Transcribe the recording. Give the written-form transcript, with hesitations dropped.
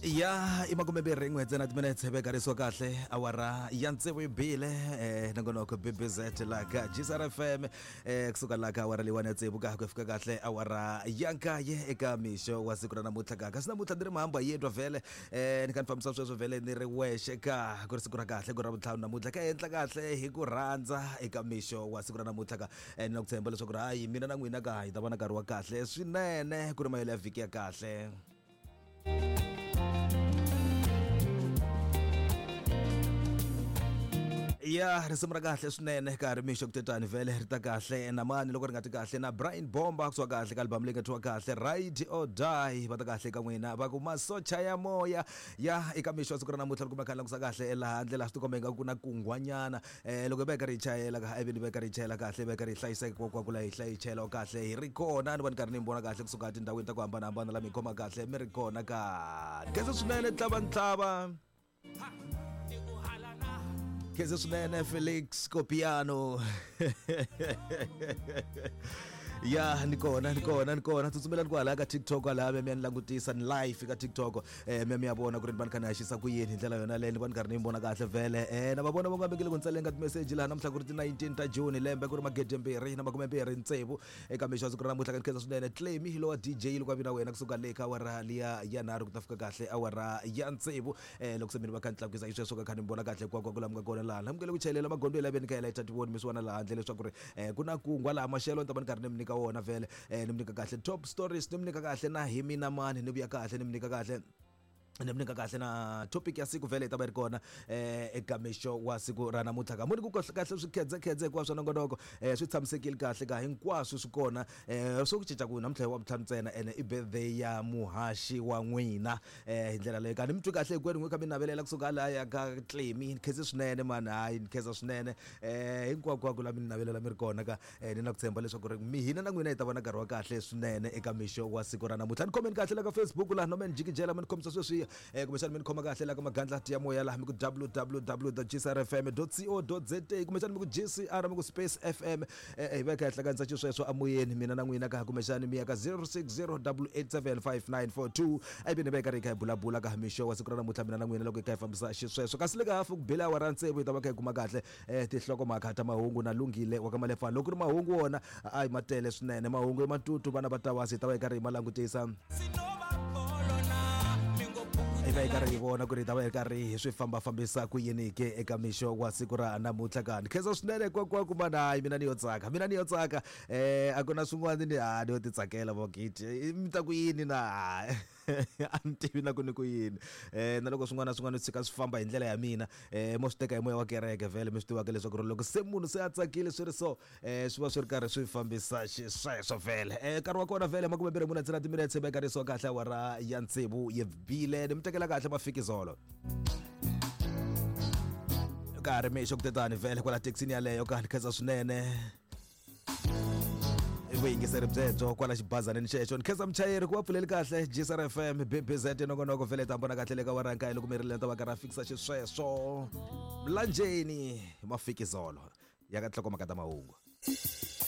Ya i 21 ntsena timinetse vekarisiwa kahle awara ya tsevu yi bile nongonoko BBZ la ka GCR FM kusuka la ka awara leyiwani ya tsevu ka ku fika kahle awara ya nkaye eka mixo wa siku ra namuntlha ka kasi namuntlha ni ri mahamba yedwa vhele ni kha ni fambisa sweswo vhele ni ri wexe ka ku ri siku ra kahle ku ri ra vutlhanu namuntlha ka endla kahle hi ku rhandza eka mixo wa siku ra namuntlha ka ni na ku tshemba leswaku ri hayi mina na n'wina ka hi ta va na nkarhi wa kahle swinene ku ri mahelo ya vhiki ya kahle. Ya risimu ra kahle swinene ka ri mixo kutetani vhele ri ta kahle na mani loko ri nga ti kahle na Brian Bomba kusuka kahle ka album leyi nga thyiwa kahle Ride or Die va ta kahle ka n'wina va ku masocha ya moya ya eka mixo wa siku ra namuntlha ri kumeka langusa kahle laha ndlela swi tikomba ingaku ku na kunghwanyana loko hi va hi karhi hi chayela ka ivi ni va hi karhi hi chayela kahle hi va hi karhi hi hlayiseka kwakwaku laha hi hlayi chayela kahle hi ri kona ni va ni karhi ni mi vona kahle kusuka etindhawini ta ku hambanahambana la mi khoma kahle mi ri kona ka khensa swinene ntlavantlava khensa swinene Felix Copiano ya ni kona ni kona ni kona tsutsumelani kwalaya ka TikTok kwalaya mi ya ni langutisa ni live ka TikTok mi ya vona ku ri ni va ni kha ni haxisa ku yini hi ndlela yona leyo ni va ni karhi ni yi vona kahle vhele na va vona va nga vekile ku ni tsaleni ka timeseji laha namuntlha ku ri ti 19 ta June lembe ku ri magedembirhi na makumembirhi tsevu eka mixo wa siku ra namuntlha ka ni khensa swinene Claimy lowa DJ loko a vi na wena kusuka le ka awara liya ya nharhu ku ta fika kahle awara ya tsevu loko se mi ni va kha ni tlakukisa xisweswo ka kha ni mi vona kahle hinkwako ku la mi nga kona laha namukele ku chayelela magondzo ya laveni ka yela tivoni mi swi vona laha handle leswaku ri ku na kungwa laha maxelo ni ta va ni karhi ni mi nyika wona vhele ni mi nyika kahle top stories ni mi nyika kahle na hi mina mani ni vuya kahle ni mi nyika kahle ni mi nyika kahle na topic ya siku vhele yi ta va yi ri kona eka mixo wa siku ra namuntlha ka muni ku kahle kahle swi khedzekhedze hinkwaswo nongonoko swi tshamisekile kahle ka hinkwaswo swi kona swo ku cinca ku namuntlha hi wa vutlhanu ntsena ene i birthday ya muhaxi wa n'wina hi ndlela leyo ka ni mi twi kahle hinkwenu n'wi kha mi navelela kusuka laya ka Clemy ni khense swinene mani hayi ni khensa swinene hinkwako la mi ni navelela mi ri kona ka ni na ku tshemba leswaku ri mi hina na n'wina hi ta va na nkarhi wa kahle swinene eka mixo wa siku ra namuntlha ni khomeni kahle la ka Facebook laha no me ni jikijela mi ni khomisa sweswiya kumbexana mi ni khoma kahle la ka magandlati ya moya laha mi ku www.gcrfm.co.za kumbexana mi ku GCR mi ku space FM hi va hi kha hi hlanganisa xisweswo amoyeni mina na n'wina ka kumbexana mi ya ka 0608875942 a ivi ni va hi karhi hi kha hi bulabula ka mixo wa siku ra namuntlha mina na n'wina loko hi kha hi fambisa xisweswo kasi le ka hafu ku bile awara tsevu hi ta va kha hi kuma kahle tinhlokomhaka ta mahungu na Lunghile wa ka Malefana loko ku ri mahungu wona a hi ma tele swinene mahungu i matutu vana va tawasi hi ta va hi karhi hi ma langutisa hi va hi karhi hi vona ku ri hi ta va hi karhi hi swi fambafambisa ku yini ke eka mixo wa siku ra namuntlha kani khensa swinene kwakwaku mana hayi mina ni yo tsaka mina ni yo tsaka a ku na swin'wana ni ha ni yo titsakela vogiti mi ta ku yini na a ni tivi na ku ni ku yini na loko swin'wana na swin'wana swi tshika swi famba hi ndlela ya mina mo swi teka hi moya wa kereke vhele mi swi tivaka leswaku ri loko se munhu se a tsakile swi ri so swi va swi ri karhi swi fambisa xisweswo vhele nkarhi wa kona vhele 24 ntsena timinetse vekarisiwa kahle awara ya tsevu yi bile ni mi tekela kahle mafikizolo ka ha ri mixo ku tetani vhele kwala thekisini yaleyo ka ni khensa swinene vuyingiseri byebyo kwala xibazaneni xexo ni khensa muchayeri ku va pfuleli kahle GCR FM BBZ nongonoko vhele ta vona kahle le ka warankaye loko mi ri lenta va karhi a fikisa xisweswo mlanjeni mafikizolo ya ka nhlokomhaka ta mahungu.